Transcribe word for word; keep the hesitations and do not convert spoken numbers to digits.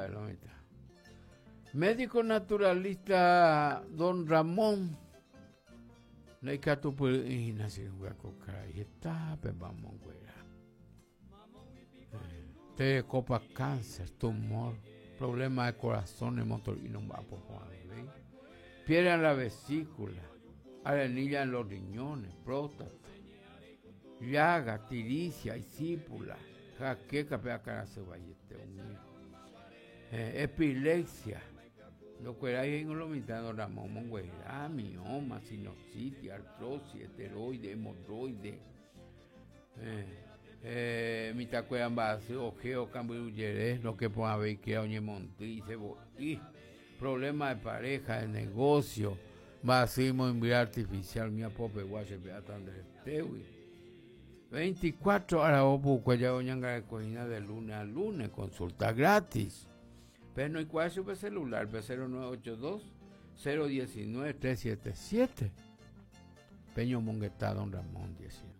Lo mitã. Médico naturalista don Ramón. Ndaikatupyry'ỹi hína che irũnguéra ko karai hetápe mba'amonguera. Terekópa cáncer, tumor, problema de corazón, motor'i nomba'apo porãvéi, piedra en la vesícula, arenilla en los riñones, próstata, llaga, tiricia, isípula, jaqueca pe akãrasy vaiete umi, epilepsia, ndokuerái he'íngo lo mitã don Ramón omonguera, mioma, sinusitis, artrosis, esteroide, hemorroide, mitãkuéra mba'asy, ojeo, kambyrujere, roke porãvéi oñemondýi, cebo'i, problema de pareja, de negocio, mba'asy imoimbyre artificial, umi apopegua chepe'áta nderetégui. veinticuatro aravo pukue jave oñangareko hína de lunes a lunes, consulta gratis. Pero no ikuaa chupe celular, pe cero nueve ocho dos, cero diecinueve, tres siete siete. Peñomongeta don Ramón diecinueve.